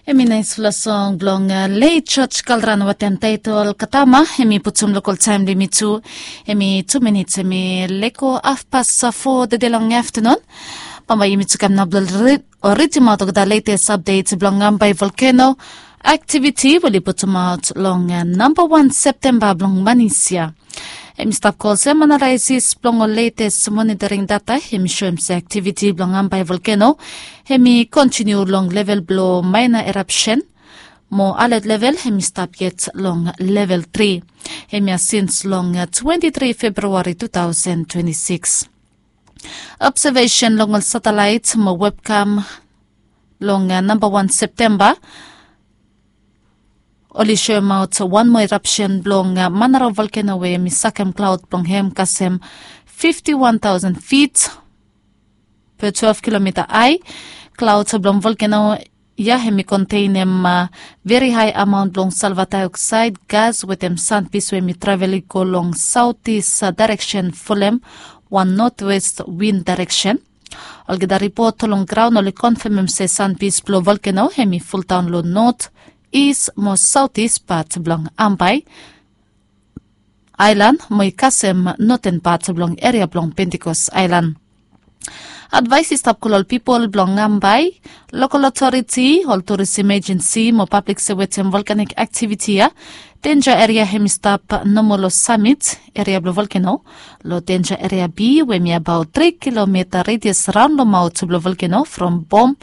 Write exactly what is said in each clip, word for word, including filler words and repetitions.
Em i naisfala song blong leit joj kalran wetem taitol katama. Em i putum lokol taem blong yumi tu. Em i tu minits em i leko afpas fo dede long aftanun. Bambae yumi tu kam nao blong ridimaot olgeta letes apdet blong ambae volkeno aktiviti we oli putumaot long namba wan septemba blong manis ya. Em i stap go olsem, analaesis blong ol letes monitoring data em i soem se aktiviti blong ambae volkeno em i kontiniu long level blong maena erapsen, mo alet level em i stap yet long level tri. Em ya sins long twenti tri februari tu taosen twenti sikis. Obsevesen long ol satelaet mo webkam long namba wan septemba oli soemaot wan moa erapsen blong manaro volkeno we em i sakem klaod blong hem kasem fifti wan taosen fit pe twelve kilomita hae. Klaod blong volkeno ya em i kontenem veri hae amaon blong salva daeoksaed gas wetem sanpis we em i travel i go long saotis daereksen folem wan notwest win daereksen. Olgeta ripot long graon oli konfemem se sanpis blong volkeno em i foldaon long not, is mo saotis pat blong ambae aelan mo i kasem noten pat blong eria blong pentikos aelan. Advaes i stap go long ol pipol blong ambae, lokol otoriti, ol turism ejensi mo pablik se wetem volkanik aktiviti ya, denja eria em i stap nomo long samit eria blong volkeno long denja eria bi we em i abaot tri kilomita redias raon long maot blong volkeno from bom,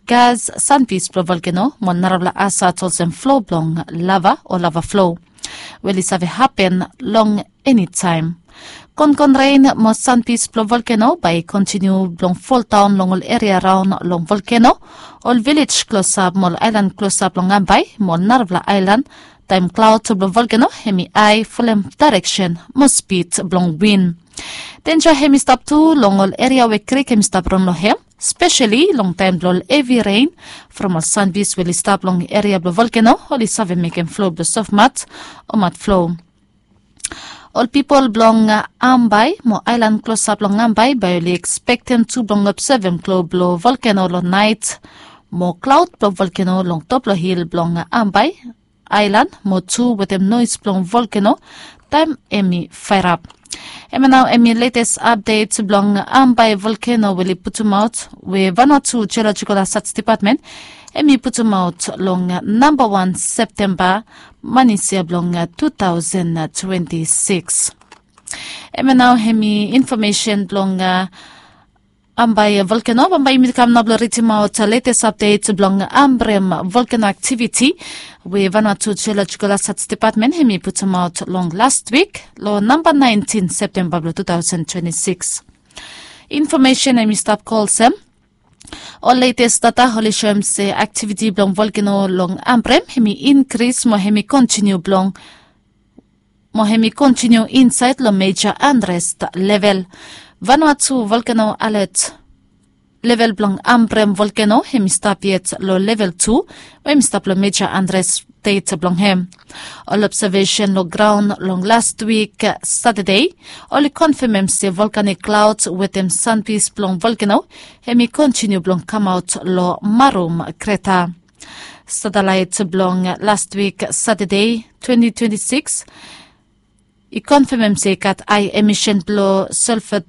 gas, sanpis blong volkeno mo narafala asat olsem flo blong lava o lava flo we oli save hapen long enitaem. Konkon ren mo sanpis blong volkeno bae i kontiniu blong foldaon long ol eria raon long volkeno, ol vilej klosap mo ol aelan klosap long ambae mo ol narafala aelan, taem klaod blong volkeno em i hae folem daereksen mo spid blong win. Denja em i stap tu long ol eria we krik em i stap ran long hem, speseli long taem blong ol hevi ren from ol sanpis we oli stap long eria blong volkeno oli save mekem flo blong sofmat o mat flo. Ol pipol blong ambae mo aelan klosap long ambae bae oli ekspektem tu blong obsevem klo blong volkeno long naet mo klaod blong volkeno long top long hil blong ambae aelan mo tu wetem noes blong volkeno taem em i faerap. Em ya nao em i letes apdet blong ambae volkeno we oli putumaot we vanua tu jeolojikol asat depatmen em i putumaot long namba wan septemba manis ya blong tu taosen twenti sikis. Em ya nao em i infomesen blong ambae volkeno. Bambae yumi kam nao blong ridimaot letes apdet blong ambrem volkeno aktiviti we vanua tu jeolojikol asat depatmen em i putumaot long last wik long namba naentin septemba blong tu taosen twenti sikis. Infomesen em i stap go olsem, ol letes data oli soem se aktiviti blong volkeno long ambrem em i inkris mo em i kontiniu blong mo em i kontiniu insaed long meja andres level. Vanua tu volkeno alet level blong ambrem volkeno em i stap yet long level tu we em i stap long meja andres stet blong hem. Ol obsevesen long graon long last wik satade oli konfemem se volkanik klaod wetem sanpis blong volkeno em i kontiniu blong kamaot long marum kreta. Satelaet blong last wik satade twenti twenti sikis i konfemem se i gat hae emisen blong solfa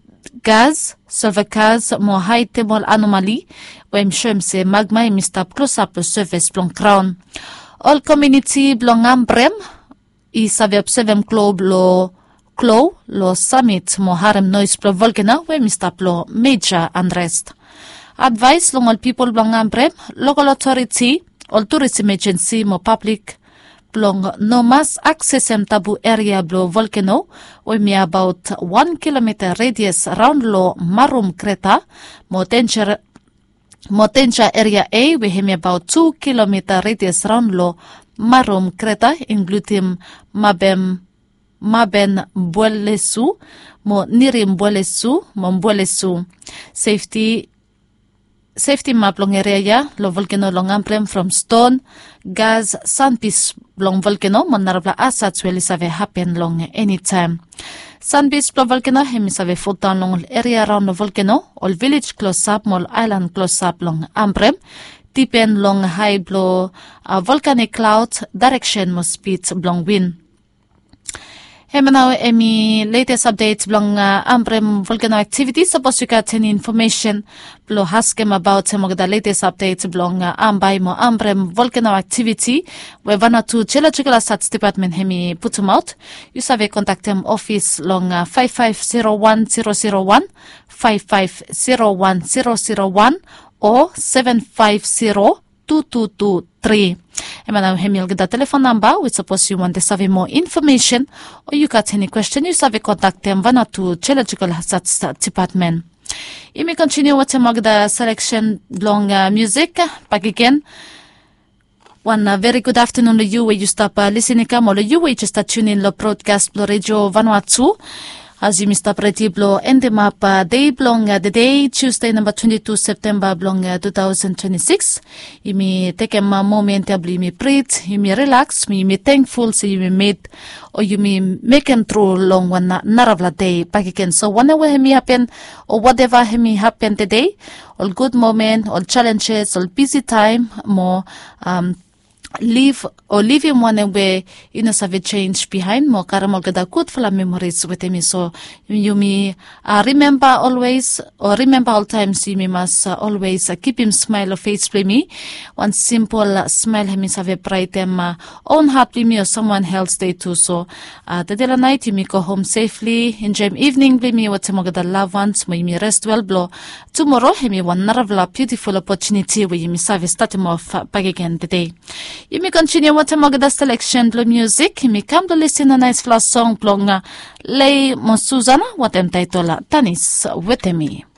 gas solfa gas mo hae temol anomali we em soem se magma em i stap klosap long sefes blong graon. Ol komiuniti blong ambrem i save obsevem klo blong klo long samit mo harem noes blong volkeno we em i stap long meja andres. Advaes long ol pipol blong ambrem, lokol otoriti, ol turism ejensi mo pablik blong no mas aksesem tabu eria blong volkeno we em i abaot wan kilomita redias raon long marum kreta mo denja mo denja eria a we em i abaot tu kilomita redias raon long marum kreta inkludim mabem maben buelesu mo nirim buelesu mo buelesu. Sefti sefti map long eria ya long volkeno long ambrem from ston, gas, sanpis blong volkeno mo narafala asat we oli save hapen long enitaem. Sanpis blong volkeno em i save foldaon long ol eria raon long volkeno, ol vilej klosap mo ol aelan klosap long ambrem. dipen long hae blong volkanik klaod, daereksen mo spid blong win. Hemia nao hemi letes apdet blong ambrem volkeno aktiviti. Sapos yu gat eni infomesen blong askem abaot hem olgeta letes apdet blong ambae mo ambrem volkeno aktiviti we vanatu jeolojikol asaj depatmen hemi putumaot, yu save kontaktem ofis long faef faef zero wan zero zero wan, faef faef zero wan zero zero wan, o seven faef zero tu tu tu tri. Hemia nao hemi olgeta telefon namba we sapos yu wantem save moa infomesen o yu gat eni kwesten, yu save kontaktem vanatu jeolojikol asaj depatmen. Yumi kontiniu wetem olgeta seleksen blong miusik bakegen. Wan veri gud aftanun long yu we yu stap lisin i kam, o long yu we yu jes stap tiunin long brodkas blong redio vanua tu. As yumi stap redi blong endemap dei blong dedei, tiusdei namba twenti tu septemba blong tu taosen twenti sikis, yumi tekem momen ya blong yumi brit, yumi rilaks mo yumi tengful se yumi mit o yumi mekem tru long wan narafala dei bakegen. So wanem we hemi hapen o wateva hemi hapen tedei, ol gud momen, ol jalenjes, ol bisi taem mo liv o livim wanem we yu no save jenj bihaen mo karem olgeta gudfala memoris wetem yu. So yumi rimemba olwes o rimemba oltaem se yumi mas olwes kipim smael long fes blong yumi. Wan simpol smael hemi save braetem own hat blong yumi o samwan els dei tu. So tede long naet yumi go hom sefli, enjoem ivning blong yumi wetem olgeta lavwans mo yumi res wel blong tumoro hemi wan narafala biutiful opotuniti we yumi save statem of bakegen tede. Yumi kontiniu wetem olgeta seleksen blong miusik, yumi kam blong lisin long naesfala song blong Lei mo Susana wetem taetol Danis wetem mi.